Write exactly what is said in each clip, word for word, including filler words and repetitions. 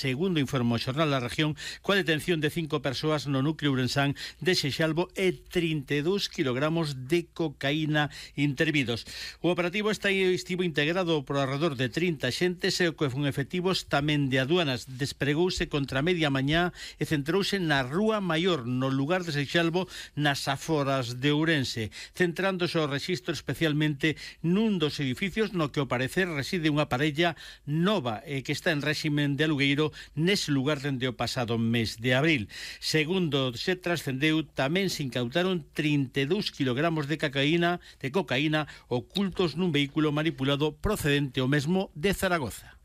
segundo informe o xornal da región, coa detención de cinco persoas no núcleo ourensán de Seixalbo e trinta e dous kilogramos de cocaína intervidos. O operativo está estivo integrado por alrededor de trinta xentes e o que fun efectivos tamén de aduanas. Despregouse contra media mañá e centrouse na Rúa Maior, no lugar de Seixalbo, nas aforas de Ourense, centrándose o rexistro especialmente nun dos edificios no que ao parecer reside unha parella nova e que está en réximen de alugueiro nese lugar dende o pasado mes de abril. Segundo se trascendeu, tamén se incautaron trinta e dous kilogramos de cocaína, de cocaína ocultos nun vehículo manipulado procedente o mesmo de Zaragoza.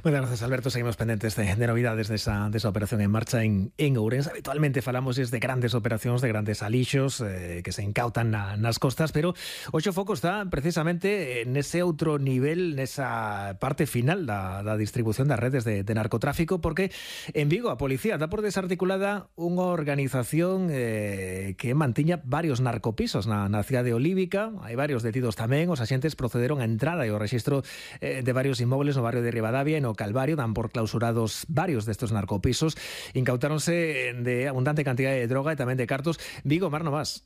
Muchas gracias, Alberto. Seguimos pendientes de, de novidades de esa, de esa operación en marcha en, en Ourense. Habitualmente falamos de grandes operacións, de grandes alixos eh, que se incautan na, nas costas, pero hoxe o foco está precisamente nese outro nivel, nesa parte final da, da distribución das redes de, de narcotráfico, porque en Vigo a policía dá por desarticulada unha organización eh, que mantiña varios narcopisos na, na cidade olívica. Hai varios detidos tamén. Os axentes procederon a entrada e o rexistro eh, de varios inmóviles no barrio de Ribadavia e no Calvario. Dan por clausurados varios destes narcopisos. Incautáronse de abundante cantidade de droga e tamén de cartos. Vigo, Mar Novas.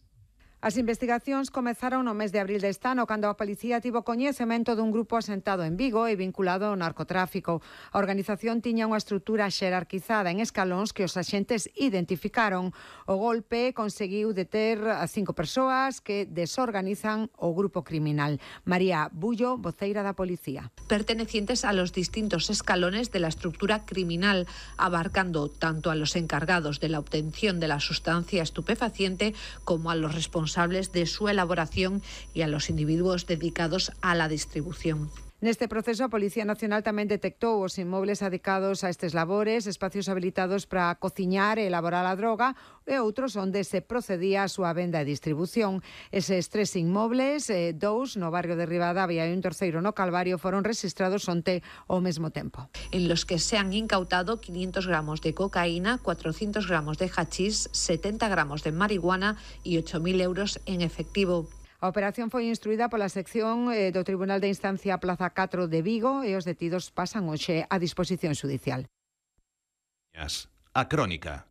As investigacións comezaron no mes de abril deste ano, cando a policía tivo coñecemento dun grupo asentado en Vigo e vinculado ao narcotráfico. A organización tiña unha estrutura xerarquizada en escalóns que os axentes identificaron. O golpe conseguiu deter a cinco persoas que desorganizan o grupo criminal. María Bullo, voceira da policía. Pertenecientes a los distintos escalones de la estructura criminal, abarcando tanto a los encargados de la obtención de la sustancia estupefaciente como a los responsables de su elaboración y a los individuos dedicados a la distribución. Neste proceso, a Policía Nacional tamén detectou os inmobles dedicados a estes labores, espacios habilitados para cociñar e elaborar a droga e outros onde se procedía a súa venda e distribución. Eses tres inmobles, eh, dous no barrio de Ribadavia e un terceiro no Calvario, foron registrados onte ao mesmo tempo. En los que se han incautado quinientos gramos de cocaína, cuatrocientos gramos de hachís, setenta gramos de marihuana y ocho mil euros en efectivo. A operación foi instruída pola sección eh, do Tribunal de Instancia Plaza catro de Vigo e os detidos pasan hoxe a disposición xudicial. A crónica.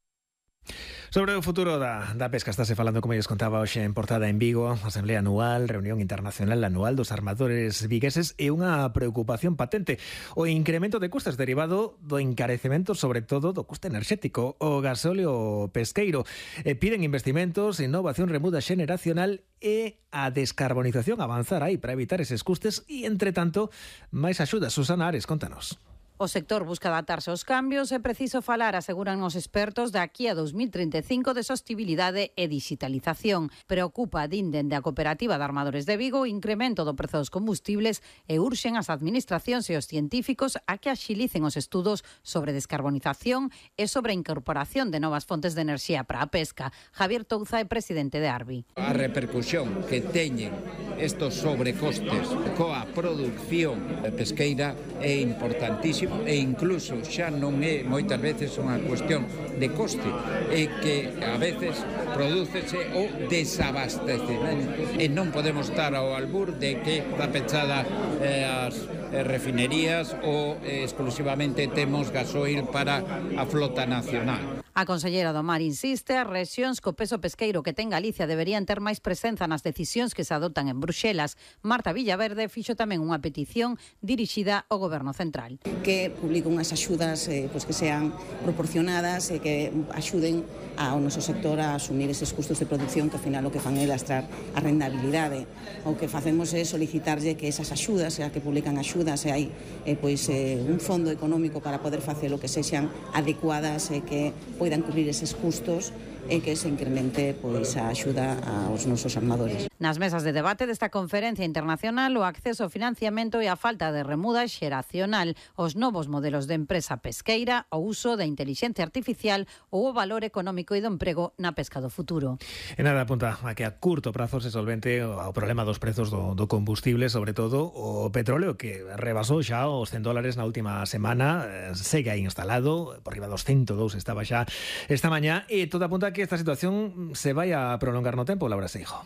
Sobre o futuro da, da pesca estáse falando, como lles contaba hoxe en portada en Vigo, Asamblea Anual, Reunión Internacional Anual dos Armadores Vigueses, e unha preocupación patente: o incremento de custas derivado do encarecemento, sobre todo do custe enerxético, o gasóleo pesqueiro. E piden investimentos, innovación, remuda xeneracional e a descarbonización, avanzar aí para evitar eses custes e, entre tanto, máis axudas. Susana Ares, contanos. O sector busca adaptarse aos cambios. É preciso falar, aseguran os expertos, de aquí a dos mil trinta e cinco de sostibilidade e digitalización. Preocupa, din dende a Cooperativa de Armadores de Vigo, o incremento do prezo dos combustibles e urxen as administracións e os científicos a que axilicen os estudos sobre descarbonización e sobre a incorporación de novas fontes de enerxía para a pesca. Javier Touza é presidente de Arbi. A repercusión que teñen estos sobrecostes coa produción pesqueira é importantísimo, e incluso xa non é moitas veces unha cuestión de coste, é que a veces prodúcese o desabastecemento e non podemos estar ao albur de que está pechada eh, as eh, refinerías ou eh, exclusivamente temos gasoil para a flota nacional. A conselleira do Mar insiste, as rexións co peso pesqueiro que ten Galicia deberían ter máis presenza nas decisións que se adoptan en Bruxelas. Marta Villaverde fixo tamén unha petición dirixida ao Goberno Central. Que publique unhas axudas eh, pues que sean proporcionadas e que axuden ao noso sector a asumir eses custos de producción que ao final o que fan é lastrar a rendabilidade. O que facemos é solicitarlle que esas axudas, a que publican axudas, e hai eh, pois, eh, un fondo económico para poder facer o que sexan adecuadas e que poidan cubrir eses custos e que se incremente pois a axuda aos nosos armadores. Nas mesas de debate desta conferencia internacional, o acceso ao financiamento e a falta de remuda xeracional, os novos modelos de empresa pesqueira, o uso da intelixencia artificial ou o valor económico e do emprego na pesca do futuro. E nada apunta a que a curto prazo se solvente o problema dos prezos do, do combustible, sobre todo o petróleo, que rebasou xa os cen dólares na última semana, eh, segue aí instalado, por riba dos ciento dous estaba xa esta mañá, e todo apunta a que esta situación se vai a prolongar no tempo, Laura Seijo.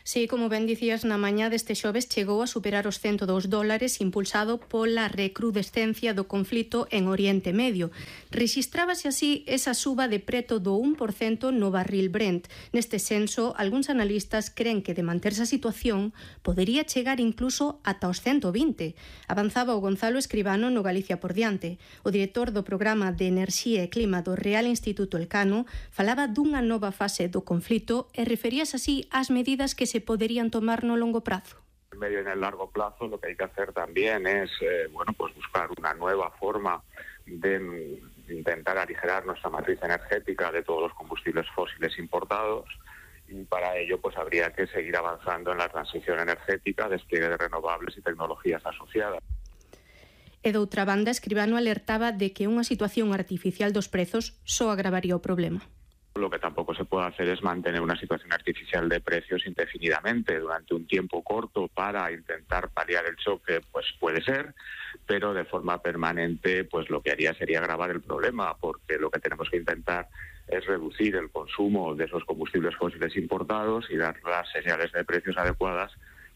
Sí, como ben dicías, na mañá deste xoves chegou a superar os cento dous dólares impulsado pola recrudescencia do conflito en Oriente Medio. Rexistrábase así esa suba de preto do un por cento no barril Brent. Neste senso, algúns analistas creen que de manterse a situación podería chegar incluso ata os cento vinte. Avanzaba o Gonzalo Escribano no Galicia por diante. O director do programa de Enerxía e Clima do Real Instituto Elcano falaba dunha nova fase do conflito e referíase así ás medidas que se podrían tomar no longo prazo. En medio y en el largo plazo lo que hay que hacer también es eh, bueno, pues buscar una nueva forma de intentar aligerar nuestra matriz energética de todos los combustibles fósiles importados, y para ello pues habría que seguir avanzando en la transición energética, despliegue de renovables y tecnologías asociadas. E doutra banda, Escribano alertaba de que unha situación artificial dos prezos só agravaría o problema. Lo que tampoco se puede hacer es mantener una situación artificial de precios indefinidamente durante un tiempo corto para intentar paliar el choque, pues puede ser, pero de forma permanente pues lo que haría sería agravar el problema, porque lo que tenemos que intentar es reducir el consumo de esos combustibles fósiles importados y dar las señales de precios adecuadas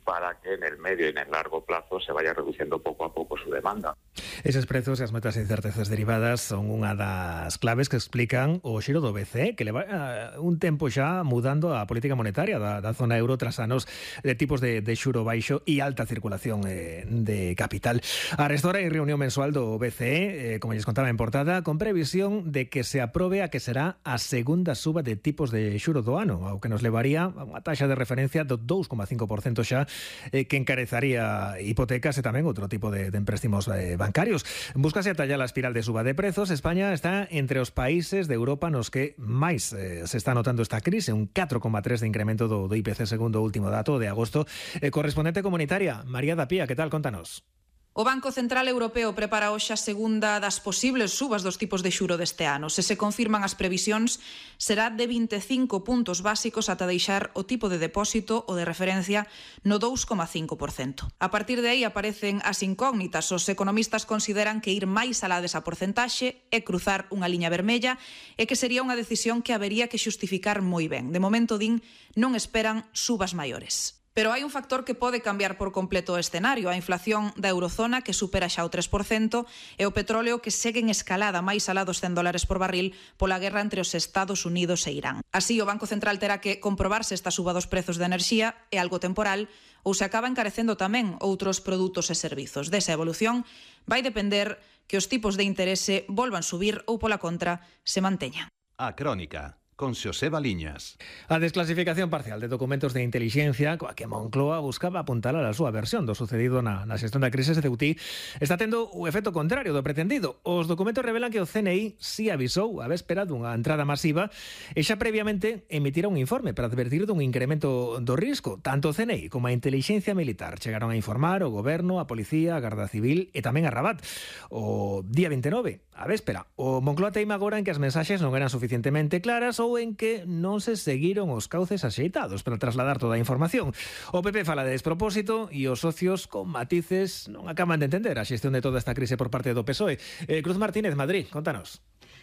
para que en el medio y en el largo plazo se vaya reduciendo poco a poco su demanda. Eses prezos e as moitas incertezas derivadas son unha das claves que explican o xiro do B C E, que leva uh, un tempo xa mudando a política monetaria da, da zona euro tras anos de tipos de, de xuro baixo e alta circulación eh, de capital. A restora hai reunión mensual do B C E, eh, como lles contaba en portada, con previsión de que se aprobe a que será a segunda suba de tipos de xuro do ano, ao que nos levaría a unha taxa de referencia do dous coma cinco por cento xa, eh, que encarezaría hipotecas e tamén outro tipo de, de empréstimos eh, bancarios. Búscase atallar a espiral de suba de prezos. España está entre os países de Europa nos que máis eh, se está notando esta crise, un catro coma tres de incremento do, do I P C segundo o último dato de agosto. Eh, correspondente comunitaria, María da Pía, que tal? Contanos. O Banco Central Europeo prepara hoxe a segunda das posibles subas dos tipos de xuro deste ano. Se se confirman as previsións, será de vinte e cinco puntos básicos ata deixar o tipo de depósito ou de referencia no dous coma cinco por cento. A partir de aí aparecen as incógnitas. Os economistas consideran que ir máis alá desa porcentaxe é cruzar unha liña vermella e que sería unha decisión que habería que xustificar moi ben. De momento, din, non esperan subas maiores. Pero hai un factor que pode cambiar por completo o escenario, a inflación da eurozona que supera xa o tres por cento e o petróleo que segue en escalada máis alá dos cen dólares por barril pola guerra entre os Estados Unidos e Irán. Así, o Banco Central terá que comprobar se esta suba dos prezos de enerxía é algo temporal ou se acaba encarecendo tamén outros produtos e servizos. Desa evolución vai depender que os tipos de interese volvan subir ou, pola contra, se manteñan. A Crónica, con Xoseba Liñas. A desclasificación parcial de documentos de intelixencia coa que Moncloa buscaba apuntalar a súa versión do sucedido na, na xestión da crise de Ceuta está tendo o efecto contrario do pretendido. Os documentos revelan que o C N I si avisou a véspera dunha entrada masiva e xa previamente emitira un informe para advertir dun incremento do risco. Tanto o C N I como a intelixencia militar chegaron a informar o goberno, a policía, a Garda Civil e tamén a Rabat. O día vinte e nove, a véspera, o Moncloa teima agora en que as mensaxes non eran suficientemente claras ou en que non se seguiron os cauces axeitados para trasladar toda a información. O P P fala de despropósito e os socios con matices non acaban de entender a xestión de toda esta crise por parte do P S O E. Eh, Cruz Martínez, Madrid, contanos.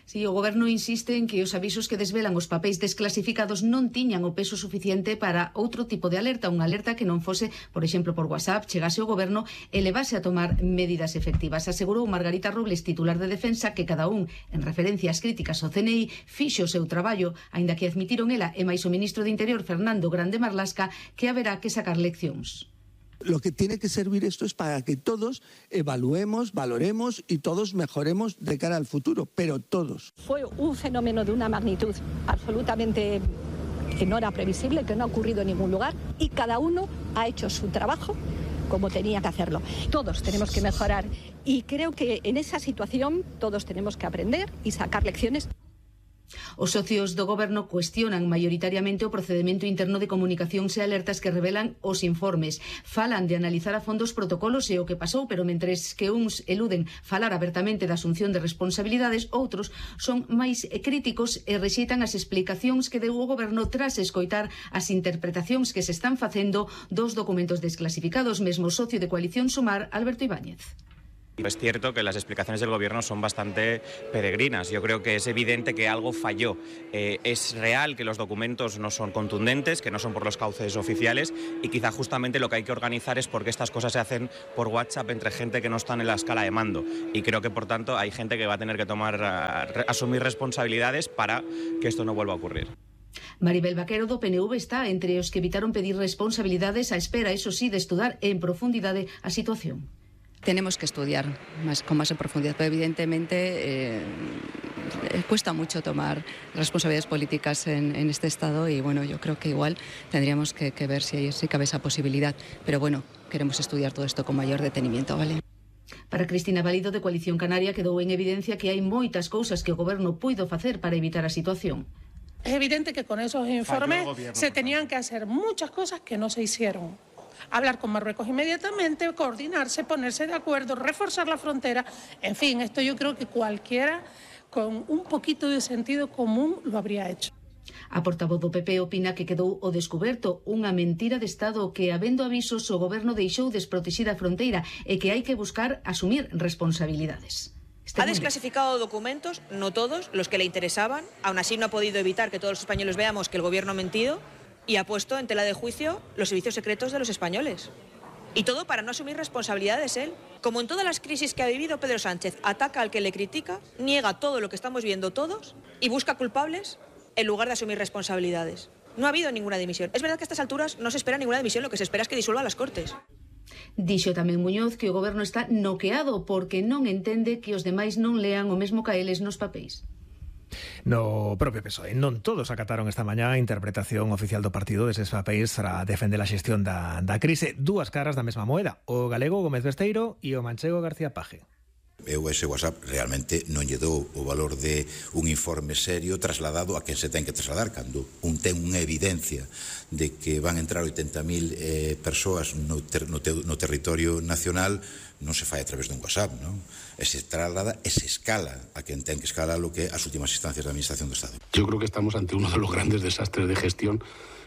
Si, o Goberno insiste en que os avisos que desvelan os papéis desclasificados non tiñan o peso suficiente para outro tipo de alerta, unha alerta que non fose, por exemplo, por WhatsApp, chegase ao Goberno e levase a tomar medidas efectivas. Asegurou Margarita Robles, titular de Defensa, que cada un, en referencia ás críticas ao C N I, fixo o seu traballo, aínda que admitiron ela e máis o ministro de Interior, Fernando Grande Marlasca, que haberá que sacar leccións. Lo que tiene que servir esto es para que todos evaluemos, valoremos y todos mejoremos de cara al futuro, pero todos. Fue un fenómeno de una magnitud absolutamente que no era previsible, que no ha ocurrido en ningún lugar y cada uno ha hecho su trabajo como tenía que hacerlo. Todos tenemos que mejorar y creo que en esa situación todos tenemos que aprender y sacar lecciones. Os socios do Goberno cuestionan maioritariamente o procedemento interno de comunicacións e alertas que revelan os informes. Falan de analizar a fondo os protocolos e o que pasou, pero mentres que uns eluden falar abertamente da asunción de responsabilidades, outros son máis críticos e rexeitan as explicacións que deu o Goberno tras escoitar as interpretacións que se están facendo dos documentos desclasificados. Mesmo socio de Coalición Sumar, Alberto Ibáñez. Es cierto que las explicaciones del Gobierno son bastante peregrinas. Yo creo que es evidente que algo falló. Eh, es real que los documentos no son contundentes, que no son por los cauces oficiales y quizá justamente lo que hay que organizar es porque estas cosas se hacen por WhatsApp entre gente que no está en la escala de mando. Y creo que, por tanto, hay gente que va a tener que tomar, a, a, asumir responsabilidades para que esto no vuelva a ocurrir. Maribel Vaquero do P N V está entre os que evitaron pedir responsabilidades a espera, eso sí, de estudar en profundidade a situación. Tenemos que estudiar más, con más en profundidad, pero evidentemente eh, cuesta mucho tomar responsabilidades políticas en, en este Estado y bueno, yo creo que igual tendríamos que, que ver si, si cabe esa posibilidad, pero bueno, queremos estudiar todo esto con mayor detenimiento, ¿vale? Para Cristina Valido, de Coalición Canaria, quedou en evidencia que hai moitas cousas que o Goberno puido facer para evitar a situación. Es evidente que con esos informes se tenían que hacer muchas cosas que no se hicieron. Hablar con Marruecos inmediatamente, coordinarse, ponerse de acuerdo, reforzar la frontera. En fin, esto yo creo que cualquiera con un poquito de sentido común lo habría hecho. A portavoz do P P opina que quedou o descoberto unha mentira de Estado que, habendo avisos, o Goberno deixou desprotexida a fronteira e que hai que buscar asumir responsabilidades. Ha desclasificado documentos, no todos, los que le interesaban. Aún así no ha podido evitar que todos los españoles veamos que el Gobierno ha mentido y ha puesto en tela de juicio los servicios secretos de los españoles. Y todo para no asumir responsabilidades él. Como en todas las crisis que ha vivido, Pedro Sánchez ataca al que le critica, niega todo lo que estamos viendo todos y busca culpables en lugar de asumir responsabilidades. No ha habido ninguna dimisión. Es verdad que a estas alturas no se espera ninguna dimisión, lo que se espera es que disuelva las Cortes. Dixo tamén Muñoz que o Goberno está noqueado porque non entende que os demais non lean o mesmo que eles nos papéis. No propio P S O E non todos acataron esta mañá a interpretación oficial do partido deses papéis para defender a xestión da, da crise. Dúas caras da mesma moeda, o galego Gómez Besteiro e o manchego García Paje. Eu ese WhatsApp realmente non lle dou o valor de un informe serio trasladado a quen se ten que trasladar cando un ten unha evidencia de que van entrar oitenta mil eh, persoas no, ter, no, te, no territorio nacional, non se fai a través dun WhatsApp, non? E se traslada e se escala a quen ten que escalar lo que as últimas instancias da Administración do Estado. Yo creo que estamos ante uno de los grandes desastres de gestión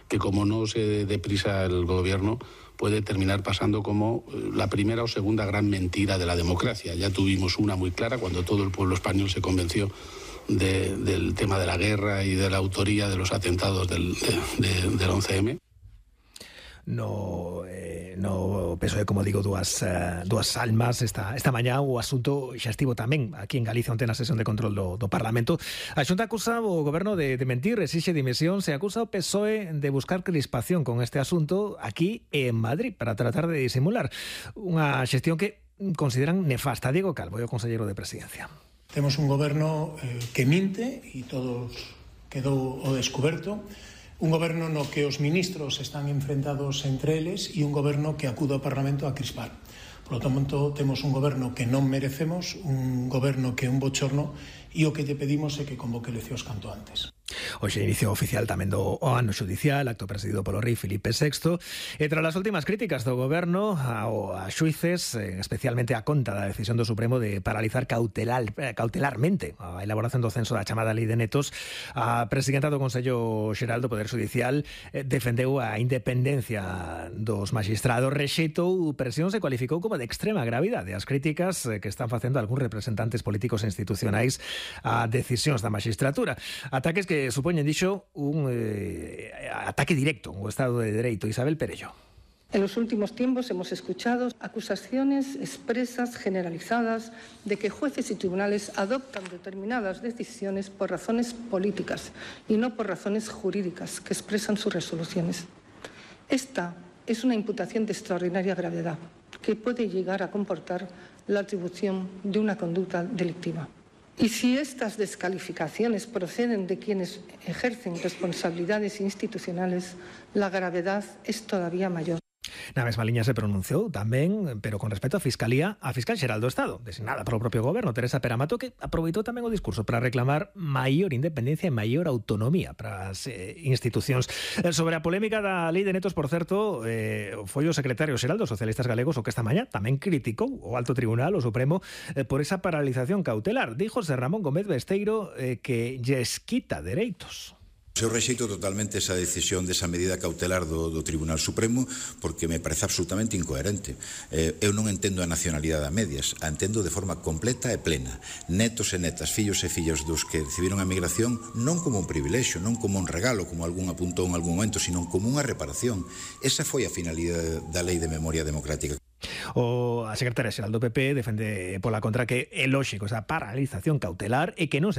que, como no se deprisa el gobierno, puede terminar pasando como la primera o segunda gran mentira de la democracia. Ya tuvimos una muy clara cuando todo el pueblo español se convenció de, del tema de la guerra y de la autoría de los atentados del, de, de, del once eme. No, eh, no P S O E, como digo, dúas, uh, dúas almas esta, esta mañá. O asunto xa estivo tamén aquí en Galicia onte na sesión de control do, do Parlamento. A Xunta acusa o Goberno de, de mentir, exixe dimisión. Se acusa o P S O E de buscar crispación con este asunto aquí en Madrid para tratar de disimular unha xestión que consideran nefasta. Diego Calvo, o conselleiro de Presidencia. Temos un Goberno eh, que minte e todos quedou o descoberto. Un goberno no que os ministros están enfrentados entre eles e un goberno que acude ao Parlamento a crispar. Por lo tanto, temos un goberno que non merecemos, un goberno que é un bochorno e o que lle pedimos é que convoque eleccións canto antes. Hoxe inicio oficial tamén do ano xudicial, acto presidido polo rei Filipe sexto, e tras as últimas críticas do goberno ao a xuíces, especialmente a conta da decisión do Supremo de paralizar cautelar, cautelarmente a elaboración do censo da chamada Lei de Netos, a presidenta do Consello Xeral do Poder Xudicial defendeu a independencia dos maxistrados, rexeitou presións e cualificou como de extrema gravidade as críticas que están facendo algúns representantes políticos e institucionais a decisións da magistratura. Ataques que supoñen, dixo, un eh, ataque directo ao Estado de Dereito. Isabel Perello. En los últimos tiempos hemos escuchado acusaciones expresas, generalizadas, de que jueces y tribunales adoptan determinadas decisiones por razones políticas y no por razones jurídicas que expresan sus resoluciones. Esta es una imputación de extraordinaria gravedad que puede llegar a comportar la atribución de una conducta delictiva. Y si estas descalificaciones proceden de quienes ejercen responsabilidades institucionales, la gravedad es todavía mayor. Na mesma liña se pronunciou tamén, pero con respecto á Fiscalía, a Fiscal Xeral do Estado, designada polo propio Goberno, Teresa Peramato, que aproveitou tamén o discurso para reclamar maior independencia e maior autonomía para as eh, institucións. Sobre a polémica da Lei de Netos, por certo, eh, foi o secretario xeral dos socialistas galegos o que esta mañá tamén criticou o Alto Tribunal, o Supremo, eh, por esa paralización cautelar. Díjose Ramón Gómez Besteiro eh, que lles quita dereitos. Eu rexeito totalmente esa decisión desa medida cautelar do, do Tribunal Supremo porque me parece absolutamente incoherente. Eh, eu non entendo a nacionalidade a medias, a entendo de forma completa e plena. Netos e netas, fillos e fillas dos que recibiron a migración non como un privilexio, non como un regalo, como algún apuntou en algún momento, sino como unha reparación. Esa foi a finalidade da Lei de Memoria Democrática. O a secretaria xeral do P P defende pola contra que é lóxico esa paralización cautelar e que non se